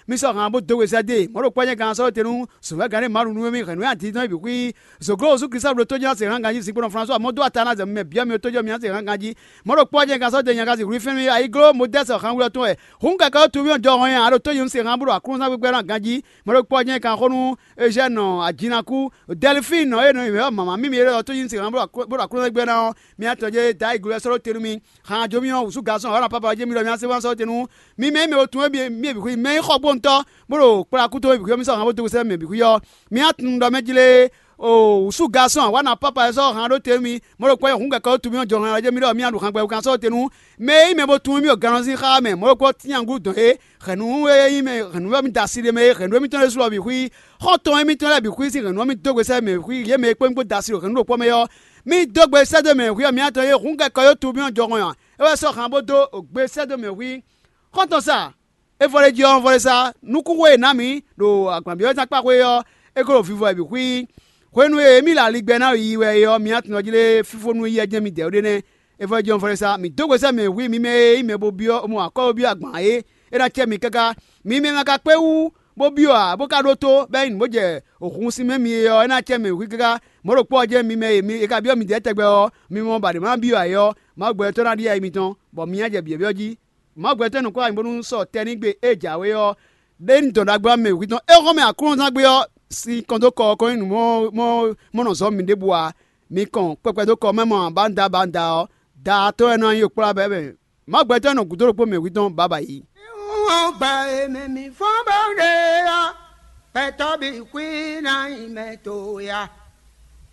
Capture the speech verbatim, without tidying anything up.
Mi sɔ́ han bó dó we sɛ́ dó e. Mɔ̌ ɖo kpɔ́ nyɛ gán sɔ́ tenu, zǒnvɛ́gán ɖé Mawu nú mì hɛ̌nnu e adidɔn e bǐ xwí. Zǒgló Jezu Kristu ɖo tó jɛ́n se hán ganjí zinkpo nɔ Flasuwa mɔ dó ata ná zɛ mɛ byɔ́ mi tójɔ mi ná se hán ganjí. Mɔ̌ ɖo kpɔ́ nyɛ gán sɔ́ te nyɛ gán si hwlí fɛ́n mì ayígló Modɛ́sɛ hán wlɔ tɔn wɛ. Hǔn kɛkɛ ɔ́ tuví ɔ́ jɔ hɔn nyi a ɖo tó nyɛ se hán bó ɖo aklúnɔzán gbígbɛ́ ná ganjí. Mɔ̌ ɖo kpɔ́ nyɛ gán xó nú Ezɛ́nɔ Ajinaku, Dɛlifín nɔ e nɔ nyi mɛ̌ ɔ́ mama mímí e ɖɔ tó nyɛ se hán bó ɖo aklúnɔzán gbígbɛ́ ná ɔ́, mi ná tɔjɛ́ dó ayǐgló wɛ sɔ́ ɖó te nú mi. Han jǒ mì ɔ́, wǔsú gasɔ́n ɔ́, ná pápá ɔ́ jɛ́n mi ɖɔ mi ná se wá sɔ́ te nú mi mɛ e mɛ bo tunwun émí mì bǐ xwí mɛ e xɔ gbóntɔ́, bó ɖo kplá kútó mì bǐ xwí ɔ́, mi sɔ́ han bó dó sɛ́ mɛ bǐ xwí ɔ́, mi ná tunwun ɖɔ mɛ jlé o wǔsú gasɔ́n ɔ́, wá ná pápá ɔ́ sɔ́ han ɖó te nú mi. Mɔ̌ ɖo kpɔ́ nyɛ hǔn gɛkɔ ɔ́ tu mì ɔ́ jɔ han ɔ́ jɛ́n mi ɖɔ mi ná ɖu han gbɛ wú kan sɔ́ te nú mɛ e nyí mɛ bo tunwun mì ɖo gannɔ sín xá mɛ. Mɔ̌ ɖokpó ɔ́, tínyaŋgú dɔn é hɛ̌nnu e nyí mɛ hɛ̌nnu ɔ́ mi da asi ɖe mɛ é hɛ̌nnu émítɔn lɛ́ɛ su lɔ bǐ xwí. Xɔ́ntɔn émítɔn lɛ́ɛ bǐ xwí sín hɛ̌nnu ɔ́ mi dó gbe sɛ́ mɛ xwí yě mɛ e kpó mì kpó da asi ɖo hɛ̌nnu ɖokpó mɛ ɔ́, mi dó gbe sɛ́ dó mɛ xwí ɔ́, mi ná tɔn e hǔn kɛkɔ ɔ́ tu mì ɔ́ jɔhɔn ǎ. É wɛ sɔ́ han bó dó gbe sɛ́ dó mɛ xwí. Xɔ́ntɔn sa, é vɔ ɖ'é jí ɔ́, vɔ ɖ'é sá. Nukúnxó e è nǎ mǐ ɖo agbanbyɔ́zán kpá xwé ɔ́, é ko ɖo vivɔ wɛ bǐ xwí. Hwenu e mǐ ɖo aligbɛ ná yi wɛ é ɔ́, mi ná tunwun jí lé fífó nú éyɛ́ jɛ́n midɛɛ ɖé nɛ́. É vɔ jɛ́n vɔ ɖ'é sá. Mǐ dó gbe sɛ́ mɛ hwí mi mɛ e nyí mɛ bo byɔ́ mɔ akɔ́ bo byɔ́ agban ǎ é. É ná cɛ mi káká. Mi mɛ ma ka kpé wú bó byɔ́ ǎ, bó ka ɖótó bɔ é nyí nǔ bó jɛ hǔn sín mɛ mi é ɔ́, é ná cɛ mɛ hwí káká. Mɔ̌ ɖokpó ɔ́ jɛ́n mi mɛ e mi è ka byɔ́ midɛɛ tɛgbɛ ɔ́, mi mɔ ba ɖě ma byɔ́ ǎ é ɔ́, Mawu gbɛtɔ́ ná ɖíe ayi mitɔn, bɔ mi ná jɛ byɔ̌byɔ́ jí. Mawu gbɛtɔ́ nɔ kó ayǐ bónú sɔ tɛ́ ní gbe e jǎwe ɔ́ ɖé ní dɔn ɖagbe ɔ́ mɛ hwǐ tɔn. É hɔn mɛ Aklúnɔzán gbe ɔ́ sín kɔn dó kɔ ɔ́ kɔn nyí nǔ mɔ mɔ mɔ nɔ zɔ̌ miɖěbǔ ǎ. Mi kɔn kpɛkpɛ dó kɔ mɛ mɔ abanda banda ɔ́, da tɔn wɛ nɔ nyi kplá bɛ́ mɛ. Mawu gbɛtɔ́ nɔ gǔdo ɖokpó mɛ hwǐ tɔn bǎbǎ yí. Wọ́n gba èmi mi fọ́n bó ɖe ɔ́, ẹ̀tọ́ bí kwí ná nyí mɛ to ya.